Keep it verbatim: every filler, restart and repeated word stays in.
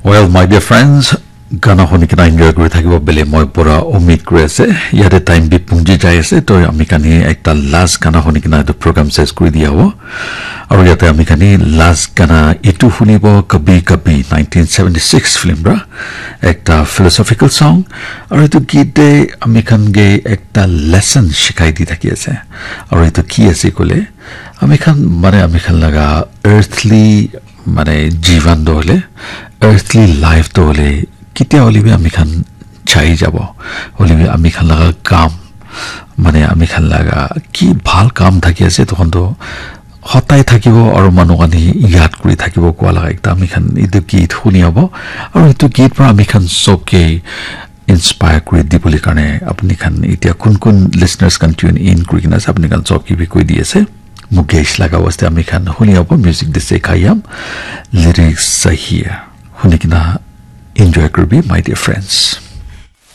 Well, my dear friends, gana huni kena enjoy kuri thakibo bele moi pura umid kuri ase. Yate time bi pungji jai ase, to ami khan hi ekta last gana huni kena etu program ses kuri dia hobo. Aru yate ami khan hi last gana etu hunibo Kabhi Kabhi nineteen seventy-six film ra, ekta philosophical song. Aru etu git te ami khan ke ekta lesson shikai di thaki ase. Aru etu ki ase kole, ami khan mane ami khan laga earthly mane jivan to hole, earthly life to hole, ketia hole bi ami khan chai jabo. Hole bi ami khan laga kam, mane ami khan laga ki bhal kam thaki ase, tokhon to hotai thakibo aru manu khan hi yad kuri thakibo koa laga ekta ami khan etu git huni abo. Aru etu git para ami khan sob ke inspire kuri dibole karne apni khan etia kun kun listeners khan tune in kuri kena ase, apni khan sob ke bi koi di ase. Mukesh laga waste ami khan huni abo music de se khayam lyrics sahi huni kena enjoy kuri bi, my dear friends.